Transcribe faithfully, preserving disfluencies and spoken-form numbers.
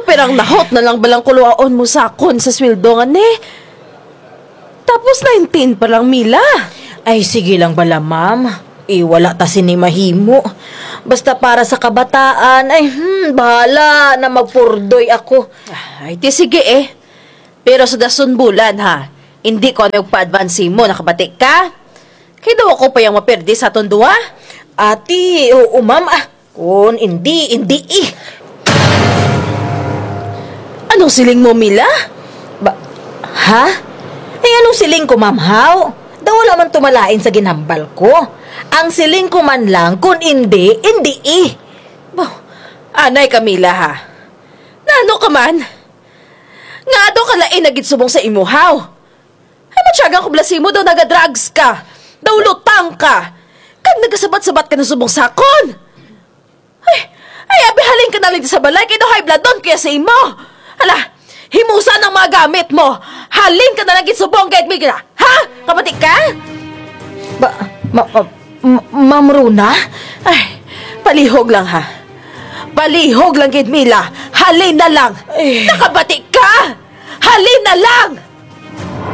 Pirang nahot na lang bala ang kuluaon mo sa akon sa sweldo ngani? Tapos nineteen pa lang, Mila. Ay, sige lang bala, ma'am. Eh, wala ta sini mahimo. Basta para sa kabataan, ay, hmm, bahala na magpurdoy ako. Ay, ti sige eh. Pero sa dason bulan, ha, indi ko na magpa-advance mo, nakabati ka? Kay daw ako pa ang mapirdi sa aton duha. Ati, oo, ma'am, ah. Kon indi, indi, eh. Anong siling mo, Mila? Ba, ha? Ay, anong siling ko, ma'am, haw? Daw wala man to malain sa ginhambal ko. Ang siling ko man lang, kon indi, indi, eh. Ba, anay ka, Mila, ha? Nano ka man? Nga daw kalain na gid subong sa imo, haw? Ay, matyaga ko bala sa imo, daw naga-drugs ka. Daw lutang ka. Kag nagasabat-sabat ka na subong sa akon. Ay, ay, abi, halin ka na lang sa balay, kay daw high blood on ko ya sa imo. Hala, himusa ang mga gamit mo. Halin ka na lang gid subong, gid, Mila. Ha? Kabati ka? Ba, ma, ma, ma, Ma'am Rona? Ay, palihog lang, ha. Palihog lang gid, Mila. Halin na lang. Ay. Nakabati ka? Halin na lang!